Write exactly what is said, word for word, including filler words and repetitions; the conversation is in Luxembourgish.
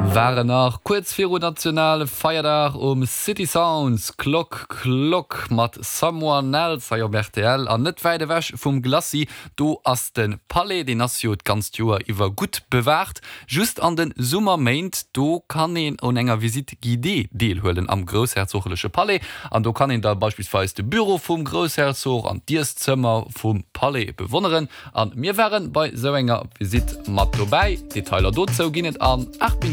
Waren nach kuerz viru nationale Feierdag um City Sounds Klock Klock mat Someone Else hei op R T L. An net wäit ewech vum Glacis, do ass de Palais, deen ass jo d'ganzt Joer iwwer gutt bewaacht. Just an de Summerméint, do kann een un enger Visite guidée deelhuelen am groussherzogleche Palais, an do kann een da beispillsweis de Büro vum Groussherzog an d'Iesszëmmer vum Palais bewonneren. An mir waren bei sou enger Visite mat dobäi. Detailer dozou ginn et an aacht Minutten.